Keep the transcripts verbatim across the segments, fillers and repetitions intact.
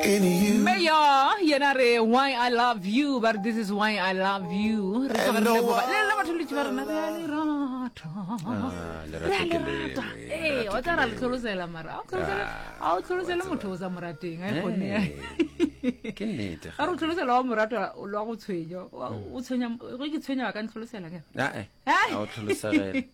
In you. Mayor yena re why I love you ba re this is why I love you re tloga re no leboga le lena batho letše ba rena re a le rata Ah, re a lerato le ke rata lengwe, ee lerato wa ke tla ra le lengwe. tlholosela mara a o tlholosele Ah, a o tlholosele wa tseba. motho o sa mo rateng a e kgone Hey, ke nnete a re o tlholosela wa morato lwa go tshwenya Wa- o tshwenya ge ke tshwenya ba ka ntlholosela ke ae Ai. a o tlholosegele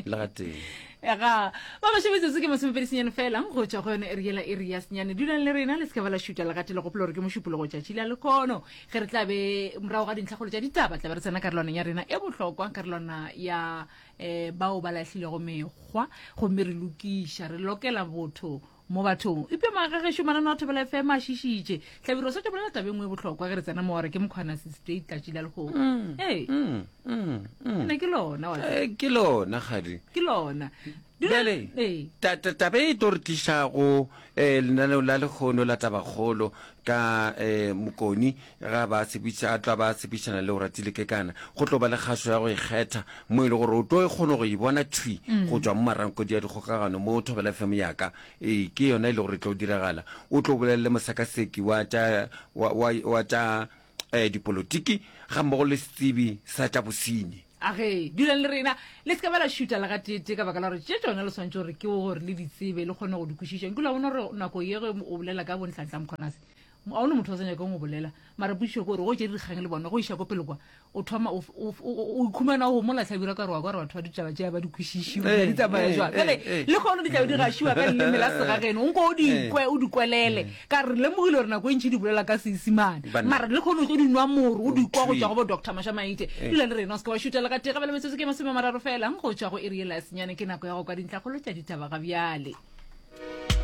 le ga teng ga ba gašo metsotso ke masomepedi senyane fela go tšwa go yone eri yela eri ya senyane dulang le rena le se ka ba la šuta legate le gopola gore ke mošupologo tšatši la lekgono ge re tla be morago ga dintlhakgolo tša ditaba tla be re tsena karolwaneng ya rena e bohlokwa karolwana ya um bao ba lahlilego mekgwa gomme re lokiša re lokela botho mo bathong epe magagešo manano a thobela fm a šišitše hlabiro sa tšo bolela taba e nngwe e bohlokwa ge re tsena mo gore ke mokgwana state tlatši la lekgono ee Mm, mm, mm. ne ke lona wa tseba. Eh, ke lona kgadi ke lona Dula- bjale ee ta- ta- taba e tlo re tlišago um lenaneo la lekgono la tabakgolo ka um mokoni ga ba tshepiša a tla ba tshepišana le o ratile kekana go tlo ba le kgašo ya go ikgetha mo e le gore o tlo e kgone go e bona thwi go tšwa mo marankodi ya dikgokagano mo thobela fm yaka ee ke yona e le gore e tlo diragala o tlo bolelele mosakaseki wa tša wa, wa, wa tša um dipolotiki ga mmogo le setsebi sa tša bosenyi age dulang le rena le se ka ba la šuta le gateete ka baka la gore tše tsona le swantse gore ke gore le di tsebe le kgone go di kwešiša nkile wa bona gore nako ye ge o bolela ka bontlantla mokgonase ga one motho o sa nyakeng go bolela mara pušišo ke gore go tše dikgang le bona go iša ko pele kwa o thoma o o- o o ikhumana o gomola tlhabira ka gore wa kwa gore batho ba ditaba tšea ba di kwešišiwe Eh, di tsamaya eh, jwang eh, bjale eh. le kgono di tlabe di gašiwa ka leleme la segageno o nko o di kwe o di kwelele ka re lemogile gore nako e ntšhi di bolela ka Seisimane Banna. mara le kgono o tlo di nwa moro o di kwa go Thwi. tšwa go bo doctor Mashamaite dula le rena o se ke wa šuta le ka tee gabele metsotso ke masome a mararo fela go tšwa go iri yela ya senyane ke nako ya go kwa dintlhakgolo tša ditaba ga bjale.